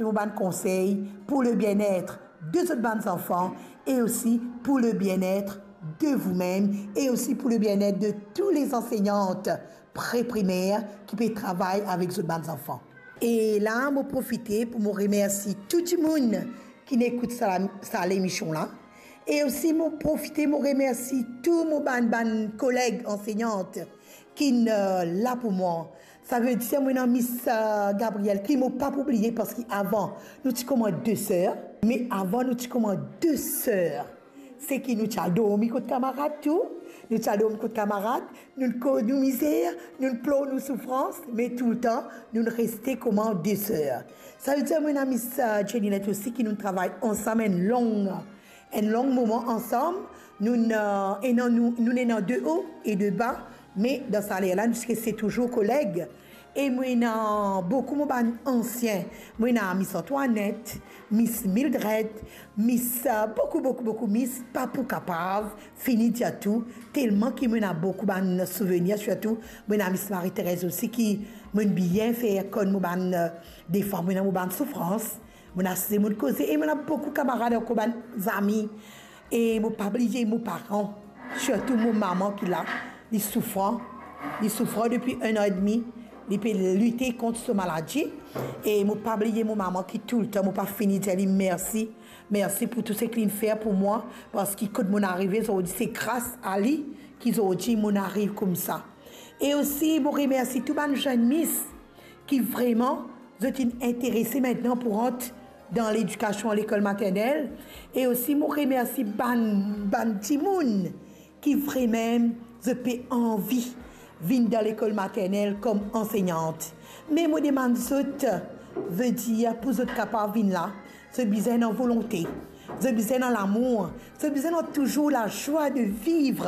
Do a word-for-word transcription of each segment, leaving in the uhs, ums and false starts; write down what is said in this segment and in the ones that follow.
mo bann konsey pour le bien-être de zot bann zanfan e osi pour le bien-être de vous-même e osi pour le bien-être de tous les enseignantes préprimaires ki pe travay avek zot bann zanfan. E la, mo profite pour mo remersi tou dimoun ki'nn ekout sa, sa lemision la. E osi, mo profite, mo remersi tou mo bann, bann koleg anseignant ki'nn, euh, la pour mwa. Savedir, mo ena Miss, euh, Gabrielle, ki mo pa pou bliye, parski avan, nou ti kouma de ser, me avan, nou ti kouma de ser. Seki nou ti al dormi kot kamarad tou, nou ti al dormi kot kamarad, nou koz nou mizer, nou plor nou soufrans, me toultan, nou reste kouma de ser. Savedir, mo ena Miss, euh, Jenny Lett osi, ki nou travay ansam enn long, enn long moman ansam. Nou, euh, ena, nou, nou ena de o e de ba, me dan sa ler la, nou ti reste touzour koleg. E mo ena boukou mo bann ansien. Mo ena Miss Antoinette, Miss Mildred, Miss, euh, boukou, boukou, boukou Miss, pa pou kapav fini dir tou, telman ki mo ena boukou bann souvenir, sirtou mo ena Miss Marie-Thérèse osi, ki mo'nn bien fer konn mo bann, euh, defwa mo ena mo bann soufrans, mo'nn asize, mo'nn koze, e mo ena boukou kamarad ankor, bann zami. E mo pa bliye mo paran, sirtou mo mama ki la, li soufran, li soufran depi enn an edmi, li pe lite kont so maladi. E mo pa bliye mo mama ki toultan, mo pa fini dir li mersi, mersi pou tou seki li'nn fer pou mwa, parski kot mo'nn arive zordi, se gras a li ki zordi mo'nn ariv koumsa. E osi, mo remersi tou bann zenn mis ki vreman, zot inn interese aster pou rant dan ledikasion lekol maternel. E osi, mo remersi bann, bann dimoun ki vremem, zot pe anvi vinn dan lekol maternel kom anseignant. Me mo demann zot, vedir pou zot kapav vinn la, zot bizin ena volonte, zot bizin ena lamour, zot bizin ena touzour lazwa de viv,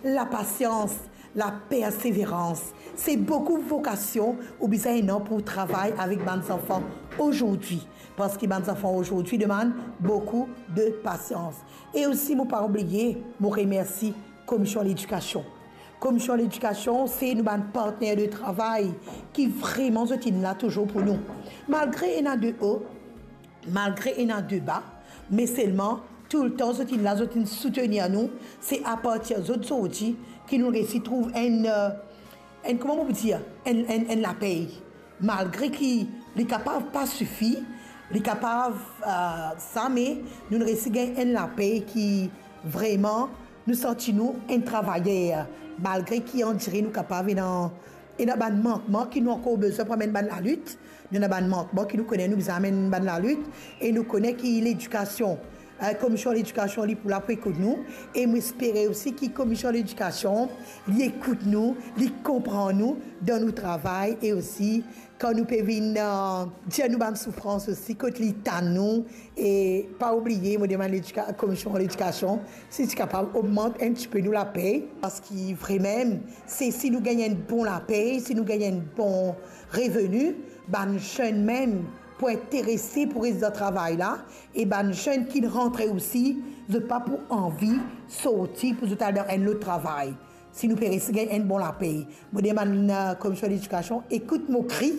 lapasians, laperseverans. Se boukou vokasion ou bizin ena pou travay avek bann zanfan ozordi, parski bann zanfan ozordi demann boukou de pasians. E osi, mo pa bliye, mo remersi Komision Ledikasion. Komision Ledikasion, se nou bann partner de travay ki vreman zot inn la touzour pou nou. Malgre ena de o, malgre ena de ba, me selman toultan zot inn la, zot inn soutenir nou. Se apartir zot zordi ki nou resi trouv enn, euh, enn, kouma mo pou dir, enn, enn, enn lapey. Malgre ki li kapav pa sifi, li kapav, euh, sa, me nou resi gagn enn lapey ki vreman nou santi nou enn travayer. Malgre ki andire nou kapav ena, ena bann mankman ki nou ankor bizin pou amenn bann lalit, nou ena bann mankman ki nou kone nou bizin amenn bann lalit, e nou kone ki ledikasion, eh, Komision Ledikasion, li pou la pou ekout nou, e mo espere osi ki Komision Ledikasion, li ekout nou, li konpran nou dan nou travay, e osi kan nou pe vinn, eh, dir nou bann soufrans osi, kot li tann nou, e pa oubliye, mo demann ledika-, Komision Ledikasion, si ti kapav ogmant enn tipe nou lapey, parski vremem, se si nou gagn enn bon lapey, si nou gagn enn bon reveni, bann zenn mem pou interese pou res dan travay la, e bann zenn ki rantre osi, zot pa pou anvi sorti pou zot al dan enn lot travay. Si nou pe resi gagn enn bon lapey, mo demann, eh, Komision Ledikasion, ekout mo kri,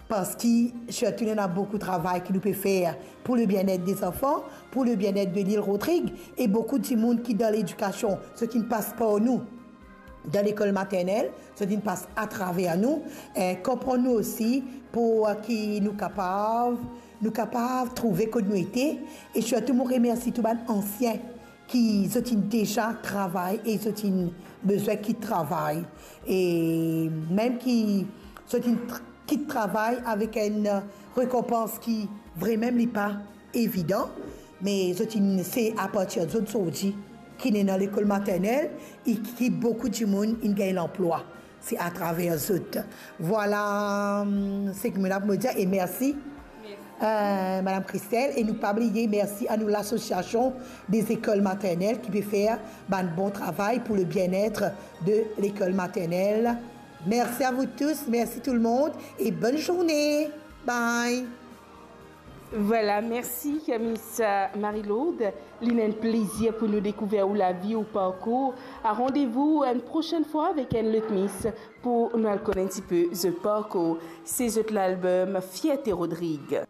parski sirtou nou ena boukou travay ki nou pe fer pour le bien-être des enfants, pour le bien-être de l'île Rodrigue, e boukou dimoun ki dan ledikasion, zot inn pas par nou dan lekol maternel, zot inn pas atraver nou, eh, konpran nou osi, pou, eh, ki nou kapav, nou kapav trouve kot nou ete. E sirtou, mo remersi tou bann ansien ki zot inn deza travay e zot inn bizin kit travay. E mem ki zot inn tr-, kit travay avek enn rekonpans ki vremem li pa evidan, me zot inn, se apartir zot zordi ki ena lekol maternel e ki boukou dimoun inn gagn lanplwa. Se atraver zot. Vwala, hum, seki mo ena pou mo dir, e mersi, eh, Madam Christelle, e nou pa bliye mersi a nou lasosiasion de lekol maternel ki pe fer bann bon travay pour le bien-être de lekol maternel. Merci à vous tous, merci tout le monde et bonne journée. Bye. Vwala, mersi, Miss Marie-Lourdes. Li enn plezir pou nou dekouver ou lavi, ou parkour. A randevou enn prosenn fwa avek enn lot Miss pou nou al konn enn tipe zot parkour. Se zot lalbom Fierté Rodrigue.